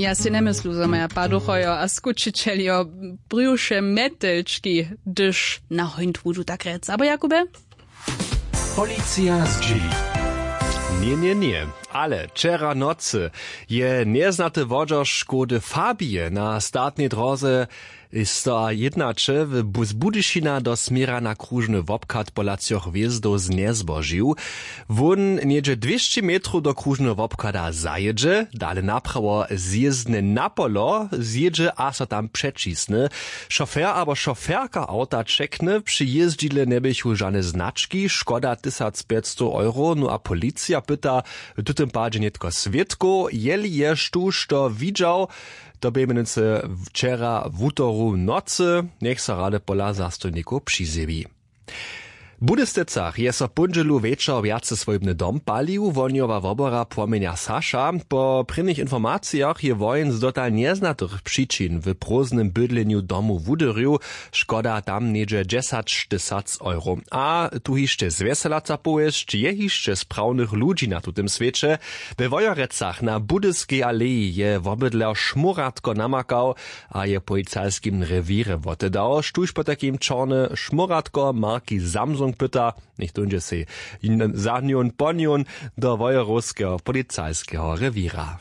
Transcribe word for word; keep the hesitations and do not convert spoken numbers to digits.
Ja sej njemyslu, zo maja paduchojo a skućićeljo brjuše mjetelčki, hdyž na hońt wudu, tak rjec abo jakube. Policija zdźěli. Ně ně ně, ale wčera nocy je njeznaty wodźer škody fabije na statnej dróze sto a jednaće z budyšina do směra na kružny wobchad pola třoch hwězdow znjezbožił. Wón něhdźe dwěsći metrow do kružneho wobchada zajědźe, dale naprawo zjězdne na polo zjědźe a so tam přećisny. Šofer abo šoferka awta ćekny, při jězdźidle njeběchu žane znački, škoda tysacpjećstow euro, no a policija pyta w tutym padźe nětko swědkow, jeli je štóž to widźał. To bě mjenujcy wčera wutoru w nocy. Njech so rady pola zastojnikow přizjewi. W budyštycach je so póndźelu wječor wjace swójbny dom palił. Wohnjowa wobora płomjenja saša. Po prěnich informacijach je wohenc dotal njeznatych přičin w prózdnym bydlenju domu wudyrju. Škoda tam něhdźe dźesaćtysac euro. A tu hišće zwjeselaca powěsć je hišće sprawnych ludźi na tutym swěće. We wojerecach na budyskej aleji je wobydler šmóratko namakał a je w policajskim rewěrje wotedał, štóž potajkim čorny šmóratko marki samsung pyta. Něchtó dźe sej za njón po njón do wojerowskeho policajskeho rewěra.